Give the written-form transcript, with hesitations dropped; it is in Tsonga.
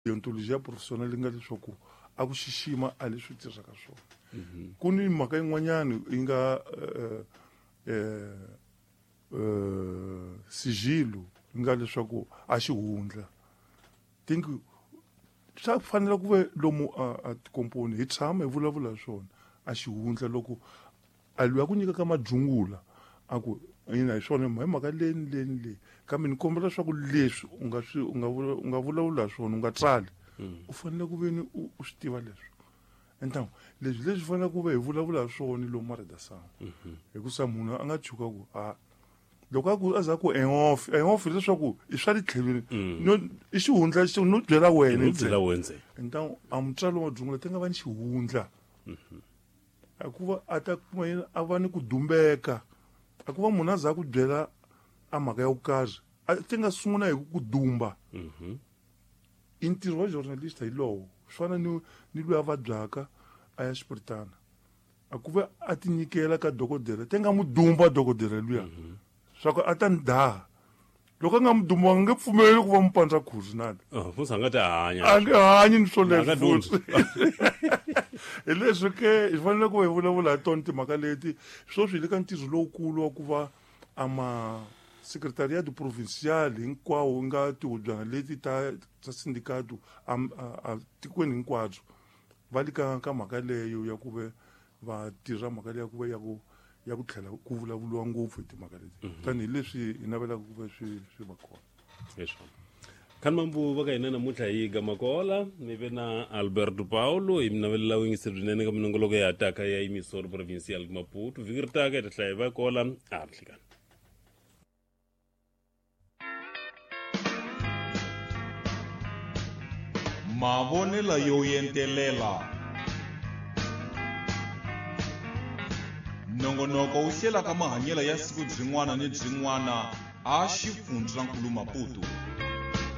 Deontologia professionnel yi nga leswaku a ku xixima a leswi tirhaka swona. Ku ni mhaka yin'wanyana yi nga sigilo yi nga leswaku a xihundla. Think swa fanela ku ve lomu a tikomponi hi tshama hi vulavula hi swona a xihundla loko a loyi a ku nyikaka majungula a ku ina hi swona hi mhaka leyi ni leyi ni leyi kambe ni kombela leswaku leswi u nga swi u nga u nga vulavula hi swona u nga tsali. U fanele ku ve ni u swi tiva leswi entangu leswi leswi fanele ku ve hi vulavula hi swona lomu maredasangu. Hikusa munhu a nga tshuka ku a loko a ku a za ku engof engof leswaku i swa le tlhelweni. No i xihundla xi no byela wena. No byela wena ntsena. Entangu a mutswari wa jungula ti nga va ni xihundla. Hikuva a ta kuma yena a va ni ku dumbeka. A ku va munhu a za ku byela a mhaka ya ku karhi a ti nga sungula hi ku dumba. I ntirho wa journalist hi lowo swi fana ni loyi a vabyaka a ya xipiritana a ku va a ti nyikela ka dokodela ti nga mu dumba dokodela luya. Swa ku a ta ni daha loko a nga mu dumba a nge pfumeli ku va mu pandza khuzi nani. Oh, futhi a nga ta hanya. A nge hanyi ni swoleswo futhi. Hi leswi ke hi fanele ku hi vulavula hi tona timhaka leti sweswi hi le ka ntirho lowukulu wa ku va ama secretariat provincial hinkwawo nga tihubyana leti ta ta sindicato a tikweni hinkwabyo va le ka mhaka leyo ya ku ve va tirha mhaka leya ku va ya ku tlhela ku vulavuriwa ngopfu hi timhaka leti. Tanihileswi hi navelaka ku va swi va kona. Leswo khani mambu va ka hina namuntlha hi Gamakola mi ve na Alberto Paulo hi mi navelela vuyingiseri byinene ka minongoloko ya taka ya Emissora Provincial Maputo vhiki ri taka hi ta hlaya hi va kola a ri nhlikani. Mavonelo yo entelela. Nongonoko wu hlelaka mahanyelo ya siku byin'wana ni byin'wana a xifundzankulu Maputo.